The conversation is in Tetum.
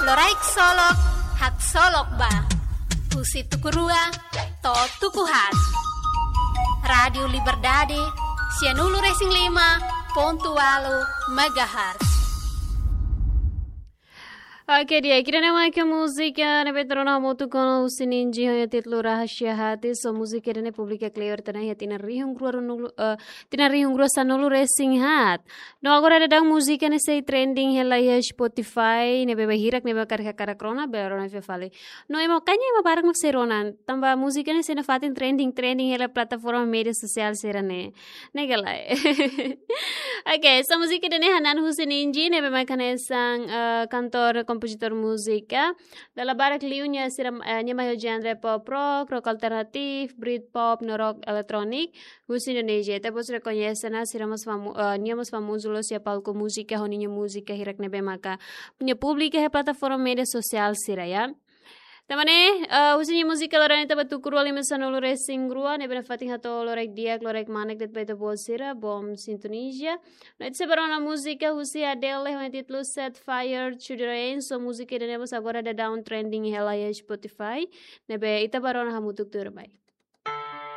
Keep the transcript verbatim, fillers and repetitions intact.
Loraik solok, haksolok ba. Husi tuku rua to'o tuku haat. Rádiu Liberdade, sianulu-resin-lima pontu ualu megahertz. Oke, di'ak, ida-ne'e maka múzika ne'ebé ita rona hamutuk ho Husi Ninji ho nia títulu Rahasia Hati, so múzika ida-ne'e publika kleur tiha ona iha tinan rihun rua ruanulu, eh, tinan rihun rua sanulu-resin-haat. No agora daudaun múzika ne'e sei trending hela iha Spotify, ne'ebé bainhira ne'ebé karik hakarak rona, bele rona fila fali. No ema, kayaknya ema barak mak sei rona, tanba múzika ne'e sei nafatin trending, trending hela plataforma média sosiál sira-ne'e. Ne'e ka lae. Oke, so múzika ida-ne'e hanan Husi Ninji, ne'ebé mak hanesan, eh, kantór, kompozitór múzika. Dala barak liu nia sira, eh, nia mai ho genre pop rock, rock alternativu, Britpop, no rock eletróniku husi Indonézia. Ita-boot rekoñese ona, sira mós famu-, eh, nia mós famozu loos iha palku múzika, ho ninia múzika hirak ne'ebé maka nia publika iha plataforma média sosiál sira, ya. Tan ne'e, eh, husi nia múzika loron ita ba tuku rua lima sanulu-resin-rua, ne'ebé nafatin hato'o loraik di'ak, loraik manek de'it ba ita-boot sira, Bom Sintonia. No ita sei bá rona múzika husi Adele, ho nia títulu Set Fire to the Rain, so múzika ida-ne'e mós agora daudaun trending hela iha Spotify, ne'ebé ita bá rona hamutuk tuirmai.